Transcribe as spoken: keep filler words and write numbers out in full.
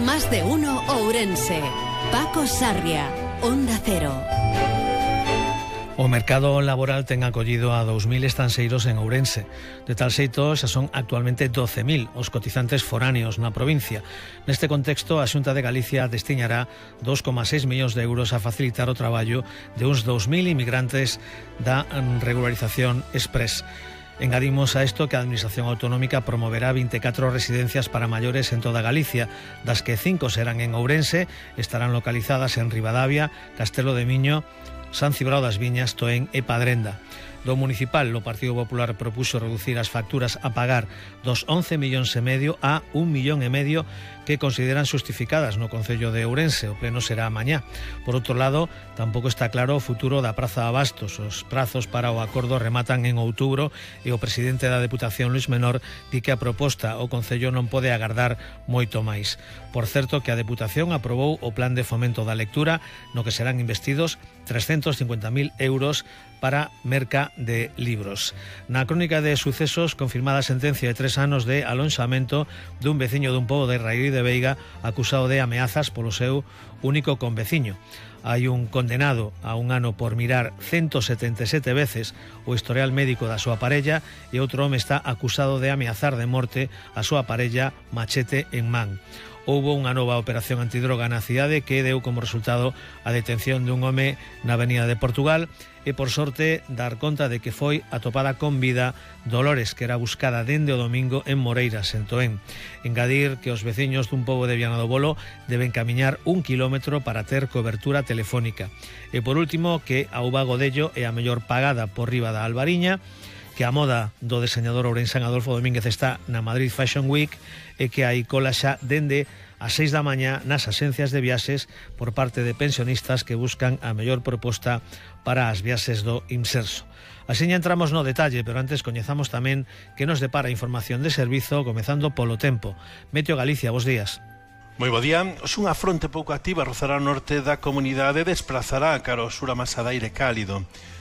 Más de uno Ourense. Paco Sarria, Onda Cero. O mercado laboral ten acollido a dous mil estanxeiros en Ourense. De tal xeito, xa son actualmente doce mil os cotizantes foráneos na provincia. Neste contexto, a Xunta de Galicia destiñará dos coma seis millóns de euros a facilitar o traballo de uns dous mil inmigrantes da regularización express. Engadimos a isto que a Administración Autonómica promoverá vinte e catro residencias para maiores en toda Galicia, das que cinco serán en Ourense, estarán localizadas en Ribadavia, Castelo de Miño, San Cibrao das Viñas, Toén e Padrenda. Do municipal, o Partido Popular propuxo reducir as facturas a pagar dos once millóns e medio a un millón e medio que consideran justificadas no Concello de Ourense. O pleno será mañá. Por outro lado, tampouco está claro o futuro da Praza Abastos. Os prazos para o acordo rematan en outubro e o presidente da Deputación, Luís Menor, di que a proposta o Concello non pode agardar moito máis. Por certo que a Deputación aprobou o plan de fomento da lectura no que serán investidos trescentos cincuenta mil euros para merca de libros. Na crónica de sucesos, confirmada a sentencia de tres anos de alonxamento dun veciño dun pobo de Raíz de Veiga acusado de ameazas polo seu único conveciño. Hai un condenado a un ano por mirar ciento setenta e sete veces o historial médico da súa parella e outro home está acusado de ameazar de morte a súa parella machete en man. Houbo unha nova operación antidroga na cidade que deu como resultado a detención dun home na Avenida de Portugal e, por sorte, dar conta de que foi atopada con vida Dolores, que era buscada dende o domingo en Moreiras, en Toén. Engadir que os veciños dun pobo de Viana do Bolo deben camiñar un kilómetro para ter cobertura telefónica. E, por último, que a uva Godello é a mellor pagada por riba da Albariña, que a moda do deseñador ourensán Adolfo Domínguez está na Madrid Fashion Week e que hai cola xa dende as seis da mañá nas axencias de viaxes por parte de pensionistas que buscan a mellor proposta para as viaxes do Imserso. Así entramos no detalle, pero antes coñezamos tamén que nos depara información de servizo, comezando polo tempo. Meteo Galicia, bos días. Moi bo día. Os unha fronte pouco activa rozará o norte da comunidade e desplazará cara ao sur a masa de aire cálido.